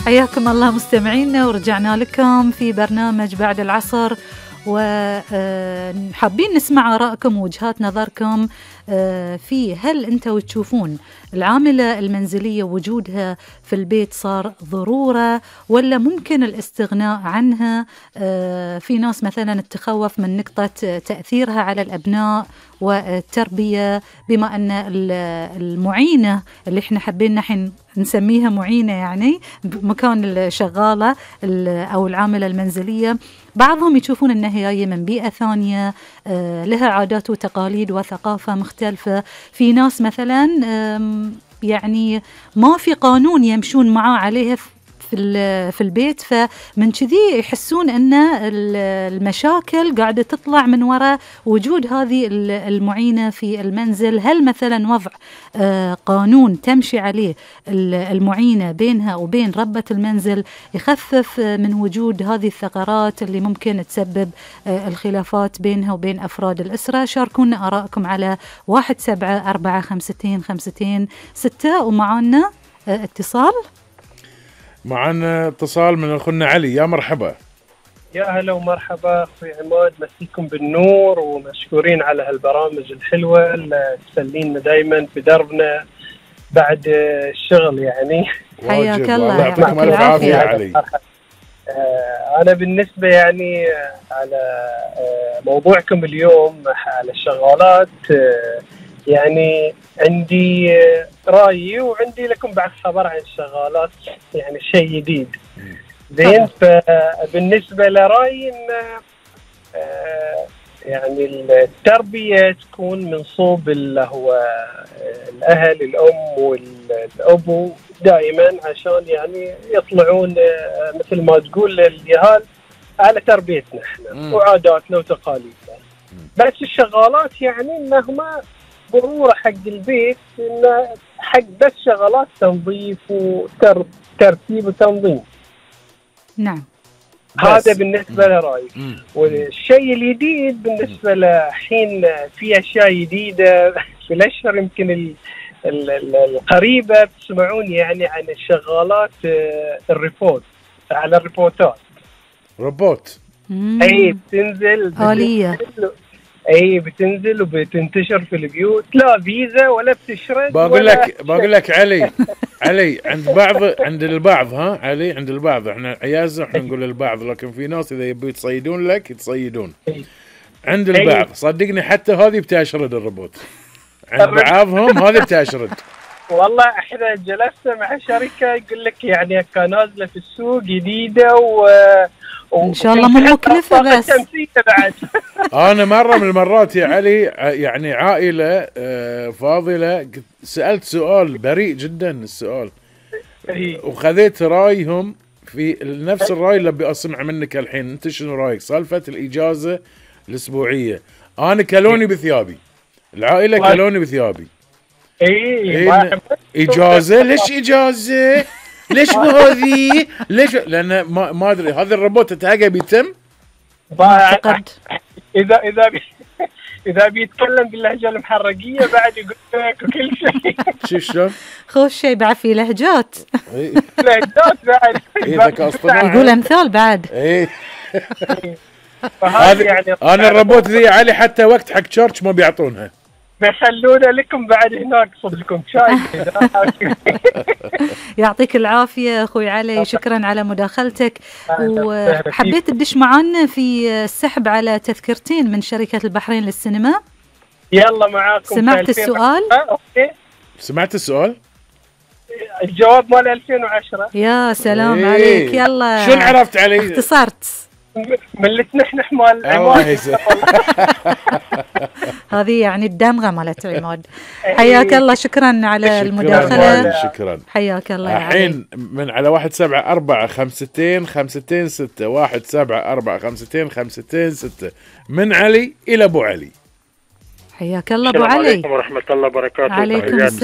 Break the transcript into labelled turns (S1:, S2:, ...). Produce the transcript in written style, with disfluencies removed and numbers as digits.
S1: حياكم الله مستمعينا، ورجعنا لكم في برنامج بعد العصر، وحابين نسمع آرائكم ووجهات نظركم في هل أنتوا تشوفون العاملة المنزلية وجودها في البيت صار ضرورة ولا ممكن الاستغناء عنها؟ في ناس مثلا تخوف من نقطة تأثيرها على الأبناء والتربية، بما أن المعينة اللي احنا حابين نحن نسميها معينة يعني مكان الشغالة أو العاملة المنزلية، بعضهم يشوفون أنها هي من بيئة ثانية لها عادات وتقاليد وثقافة مختلفة. في ناس مثلا يعني ما في قانون يمشون معاه عليها في البيت، فمن كذي يحسون أن المشاكل قاعدة تطلع من وراء وجود هذه المعينة في المنزل. هل مثلا وضع قانون تمشي عليه المعينة بينها وبين ربة المنزل يخفف من وجود هذه الثغرات اللي ممكن تسبب الخلافات بينها وبين أفراد الأسرة؟ شاركونا آرائكم على 17452526. ومعنا اتصال.
S2: معنا اتصال من أخونا علي. يا مرحبا.
S3: يا هلا ومرحبا أخوي عماد، مسيكم بالنور ومشكورين على هالبرامج الحلوة اللي تسلينا دايما في دربنا بعد الشغل يعني.
S1: حياك الله،
S2: يعطيكم ألف عافية يا علي.
S3: أنا بالنسبة يعني على موضوعكم اليوم على الشغالات، يعني عندي رأيي وعندي لكم بعد خبر عن الشغالات، يعني شيء جديد زين. فبالنسبة لرأيي إن يعني التربية تكون من صوب اللي هو الأهل، الأم والأبو دائما، عشان يعني يطلعون مثل ما تقول اليهال على تربيتنا احنا وعاداتنا وتقاليدنا. بس الشغالات يعني إنهم ضرورة حق البيت، إنه حق بس شغلات تنظيف وترتيب وتنظيم.
S1: نعم،
S3: هذا بالنسبة لرأيي. والشيء الجديد بالنسبة لحين في أشياء جديدة في الأشهر يمكن القريبة تسمعون يعني عن الشغالات الريبوت، على الريبوتات
S2: روبوت.
S3: أي بتنزل
S1: آلية،
S3: اي بتنزل وبتنتشر في البيوت، لا فيزا ولا بتشرد.
S2: بقول لك علي عند البعض علي، عند البعض احنا عيازة احنا نقول البعض، لكن في ناس اذا يبي يتصيدون لك يتصيدون. عند البعض صدقني حتى هذه بتشرد الروبوت، عند بعضهم هذه بتشرد. والله
S3: احنا جلسنا مع شركة يقول لك يعني كان نازلة في السوق جديدة
S1: إن شاء الله مو مكلفة بس.
S3: بعد
S2: أنا مرة من المرات يا علي يعني عائلة فاضلة سألت سؤال بريء جدا السؤال، وخذيت رأيهم في نفس الرأي اللي بأسمع منك الحين. أنت شنو رأيك سالفة الإجازة الأسبوعية؟ أنا كلوني بثيابي، العائلة كلوني بثيابي. إجازة؟ ليش إجازة؟ ليش مو هذه؟ ليش؟ لأن ما أدري هذا الروبوت تلقى بيتم.
S3: إذا بيتكلم باللهجة المحرقية بعد يقول لك وكل شيء.
S2: شوف شلون؟
S1: خوش شيء بعد في لهجات.
S3: لهجات بعد.
S1: يقول أمثال بعد.
S2: يعني أنا الروبوت ذي علي حتى وقت حق تشارج ما بيعطونها.
S3: بيخلونا لكم بعد هناك صدقكم شاي.
S1: يعطيك العافية أخوي علي، شكرا على مداخلتك. وحبيت تدش معنا في السحب على تذكرتين من شركة البحرين للسينما.
S3: يلا معاكم.
S1: سمعت السؤال؟
S3: أوكي.
S2: سمعت السؤال؟
S3: الجواب مال 2010.
S1: يا سلام عليك. يلا
S2: شو عرفت علي؟
S1: اختصرت
S3: من اللي تنحنح مال
S2: عماد.
S1: هذه يعني الدمغة مالت عماد. حياك الله، شكرا على المداخلة.
S2: شكرا،
S1: حياك الله.
S2: الحين من على 17452526 17452526 من علي إلى أبو علي.
S1: حياك الله أبو علي.
S4: السلام عليكم ورحمة الله وبركاته.
S1: عليكم